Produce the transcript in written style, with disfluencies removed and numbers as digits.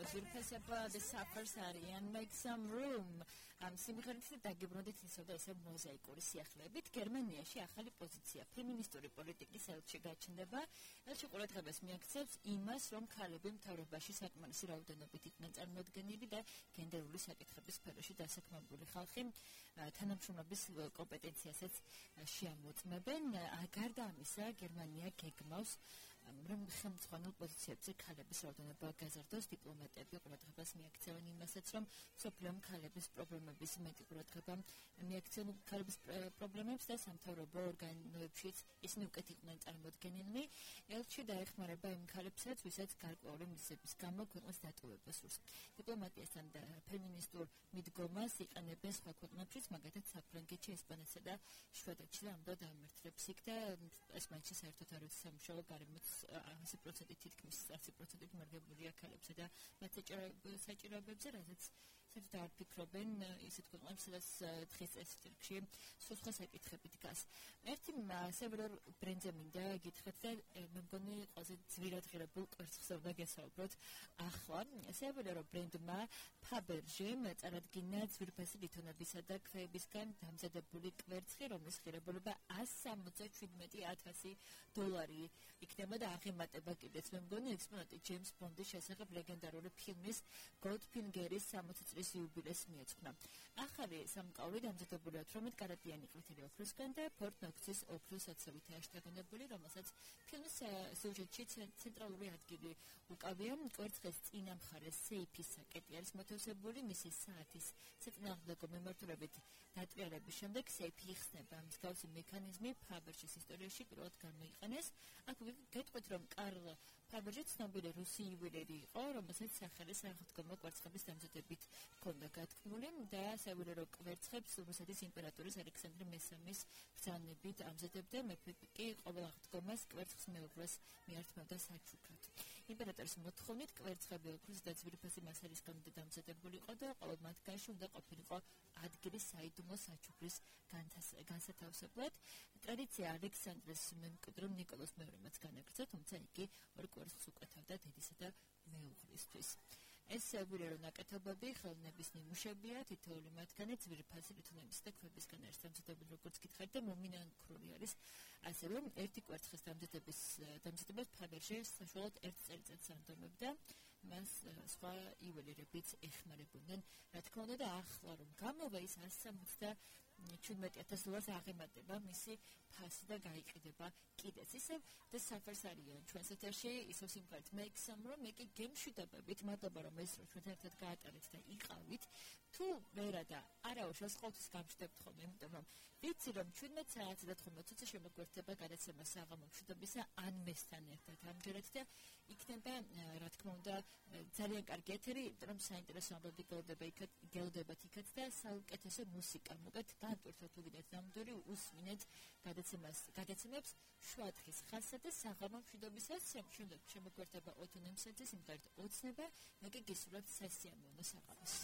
ზურფესება The Suffers and Make Some Room. სიმღერით დაგიბრუნდით ისევ და ისევ მოზაიკური სიახლეებით. გერმანიაში ახალი პოზიცია ფემინისტური პოლიტიკის ელჩი გაჩნდება. ელჩი ყურადღებას მიაქცევს იმას, რომ ქალები მთავრობაში საკმარისი რაოდენობით იყვნენ წარმოდგენილი და გენდერული საკითხების სფეროში დასაქმებული ხალხი თანამშრომლობის კომპეტენციასაც შეამოწმებენ. გარდა ამისა, გერმანია გეგმავს რომ ხელმძღვანელ პოზიციებზე ქალების რაოდენობა გაზარდოს. დიპლომატები ყურადღებას მიაქცევენ იმასაც, რომ სოფლიო ქალების პრობლემების მეტი ყურადღება მიაქცევენ ქალების პრობლემებს და სამთავრობო ორგანოებშიც ისინი უკეთ იყვნენ წარმოდგენილნი. ელჩი დაეხმარება იმ ქალებსაც, ვისაც გარკვეული მიზეზების გამო ქვეყნის დატოვება სურს. დიპლომატიასთან და ფემინისტურ მიდგომას იყენებენ სხვა ქვეყნებშიც, მაგალითად საფრანგეთში, ესპანეთსა და შვედეთში და ამბობ დამმართველებს იქ და ეს მაინც საერთოდ არ ვიცი სამუშაო გარემოც 100% თითქმის 100% მარგებულია ქალებსა და მათ საჭიროებებზე, რაზეც საერთოდ არ ფიქრობენ ისეთ ქვეყნებს, სადაც დღეს წესრიგში სხვა საკითხები დგას. ერთი სევერორ ბრენდზე მინდა გითხრათ და მე მგონი ყველაზე ძვირად ღირებულ კვერცხს უნდა გესაუბროთ. ახლა სევერორ ბრენდმა ფაბერჟემ წარადგინა ძვირფასი ლითონებისა და ქვეებისგან დამზადებული კვერცხი, რომლის ღირებულება $177,000 იქნება და აღემატება კიდეც. მე მგონი ექსპონატი ჯეიმს ბონდის შესახებ ლეგენდარული ფილმის გოლდფინგერის 60 წლის იუბილეს მიეძღვნა. ახალი სამკაული დამზადებულია 18 კარატიანი ყვითელი ოქროსგან და ფორტ ნოქსის ოქროს აცივით აშთაგონებული, რომელსაც ფილმის სიუჟეტში ცენტრალური ადგილი უკავია. კვერცხის წინა მხარეს სეიფის საკეტი არის მოთავსებული, მისი საათის საწინააღმდეგო მიმართულებით დატრიალების შემდეგ სეიფი იხსნება. მსგავსი მექანიზმი ფაბერჟის ისტორიაში პირველად გამოიყენეს. აქ გეტყვით, რომ კარლ ფაბერჟი ცნობილი რუსი იუველერი იყო, რომელსაც სახელი სახელმწიფო კვერცხების დამზადებით ჰქონდა გათქმული და სევერორო კვერცხებს რუსეთის იმპერატორის ალექსანდრე მესამის ბრძანებით ამზადებდა. მეფე კი ყოველ აღდგომას კვერცხს მეუღლეს მიართმევდა საჩუქრად. იმპერატორის მოთხოვნით კვერცხები ოქროს და ძვირფასი მასალისგან დამზადებულიყო და ყოველ მათგანში უნდა ყოფილიყო ადგილი საიდუმლო საჩუქრის განსათავსებლად. ტრადიცია ალექსანდრეს მემკვიდრე ნიკოლოზ მეორემაც განაგრძო, თუმცა იგი ორ კვერცხს უკეთავდა დედისა და მეუღლისთვის. ეს სევერორო ნაკეთობები ხელოვნების ნიმუშებია, თითოეული მათგანი ძვირფასი ლითონების და ქვებისგან არის დამზადებული, როგორც გითხარით და მომინანქრული არის. ასე რომ ერთი კვერცხის დამზადებას ფაბერჟე საშუალოდ 1 წელიწადს ანდომებდა. მას სხვა იუველირებიც ეხმარებოდნენ. რა თქმა უნდა, და ახლა რომ გამოვა ის $177,000 აღემატება მისი ფასი და გაიყიდება კიდეც. ისევ The Suffers არიან ჩვენს ეთერში, ისევ სიმღერით Make Some Room. მე კი გემშვიდობებით, მადლობა რომ ეს ჩვენ ერთად გაატარეთ და იყავით. თუ ვერა და არაუშავს ყოველთვის გამშვიდებთ ხოლმე, იმიტომ რომ ვიცი რომ 17 საათი და 15 წუთი შემოგვერთება გადაცემა საღამო მშვიდობისა ან მესთან ერთად ამჯერად და იქნება რა თქმა უნდა ძალიან კარგი ეთერი, რომ საინტერესო ამბები გელოდებათ იქაც და საუკეთესო მუსიკა მოგეთ განტვირთოთ უკიდეთ ნამდვილი უსმინეთ გადაცემებს შუა დღის ხასსა და საღამო მშვიდობისას შემოგვერთება ოთონემსაძე სიმღერით ოცნება. მე კი გისურვებთ სასიამოვნო საღამოს.